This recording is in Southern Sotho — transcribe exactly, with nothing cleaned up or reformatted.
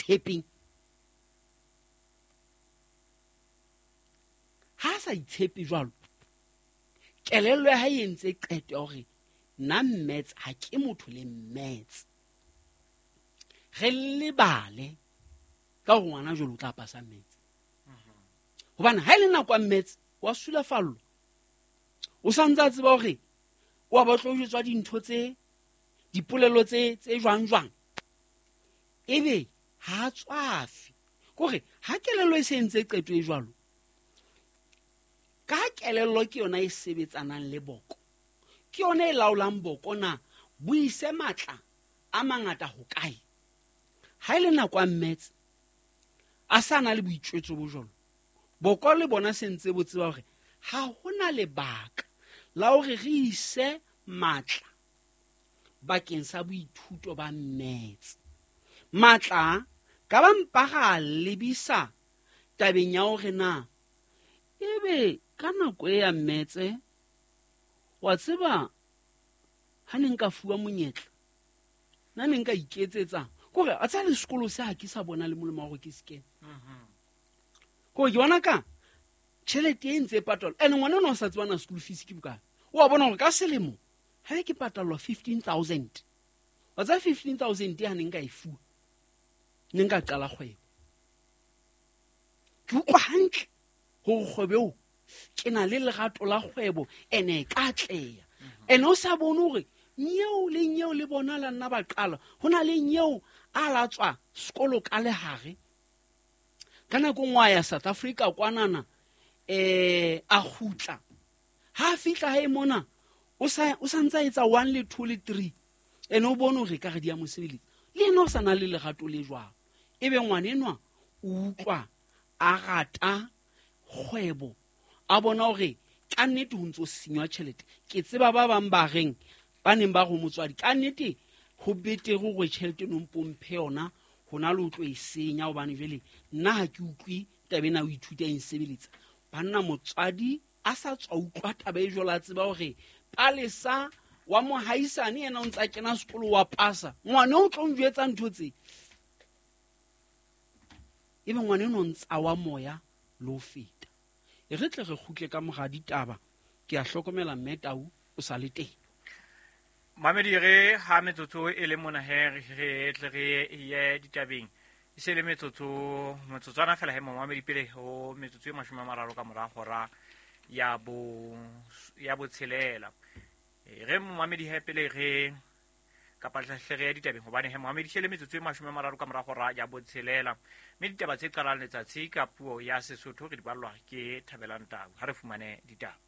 itshepeng. Ha a sa itshepe jwalo, kelello ya hae e entse qeto ya hore nna maths ha ke motho le maths. Re lebale ka hore ngwana jwale o tla pasa maths. Hobane ha e le nako ya maths wa sulafallwa. O sa ntse a tseba hore o a ba tlo jwetswa dintho tse dipolelo tse tse jwang jwang. Ebe ha a tswafe. Kore ha kelello e se entse qeto e jwalo, ka kelello ke yona e sebetsanang le boko, ke yona e laolang boko na bo ise matla a mangata hokae. Ha e le nako ya maths a sa na le boitjwetso bo jwalo, boko le bona se ntse bo tseba hore ha hona lebaka la hore re ise matla bakeng sa boithuto ba maths. Matla ka ba mpa ra lebisa tabeng ya hore na ebe ka nako e ya maths wa tseba ha ne nka fuwa monyetla nna ne nka iketsetsa kore a tsa le sekolo se ha ke sa bona le molemo wa hore ke se kene. Kore ke bona ka tjhelete e ntse e patalwa, ene ngwana ona o sa tseba na school fees ke bokae. O a bona hore ka selemo ha ke patallwa fifteen thousand, wa tseba fifteen thousand ha ne nka e fuwa ne nka qala kgwebo. Ke utlwa hantle hore kgwebo eo ke na le lerato la kgwebo ene e ka atleha. Ene o sa bone hore nyeo le nyeo le bona la nna ba qala, ho na le nyeo a la tswa sekolo ka lehare. Ka nako nngwe a ya South Africa kwanana, eh a kgutla. Ha a fihla hae mona o sa o sa ntsa etsa one le two le three, ene o bone hore ka re di a mo sebeletsa. Le yena o sa na le lerato le jwalo. Ebe ngwana enwa o utlwa a rata kgwebo, a bona hore ka nnete ho ntso senywa tjhelete. Ke tseba ba bang ba reng ba neng ba re motswadi ka nnete ho betere hore tjhelete no mpomphe yona hona le o tlo e senya, hobane jwale nna ha ke utlwe taba ena o ithuta e nsebeletsa. Banna motswadi a sa tswa utlwa taba e jwalo, a tseba hore Palesa wa mohaisane yena o ntsa kena sekolo wa pasa, ngwana o tlo njwetsa ntho tse. Ebe ngwana eno o ntsa wa moya le ho feta. E re tle re kgutle ka mora ditaba. Ke a hlokomela mme Tau o sa le teng. Mamedi re ha metsotso e le mona he re tle re ye ditabeng. E se le metsotso metsotswana fela he momamedi pele ho metsotso e mashome a mararo ka mora hora ya bo ya botshelela. E re momamedi he pele re kapa hle re ya ditabeng hobane he momamedi se le metsotso e mashome a mararo ka mora hora ya botshelela. Mme ditaba tse qalang letsatsi ka puo ya Sesotho re di ballwa ke Thabelang Tau. Ha re fumane ditaba.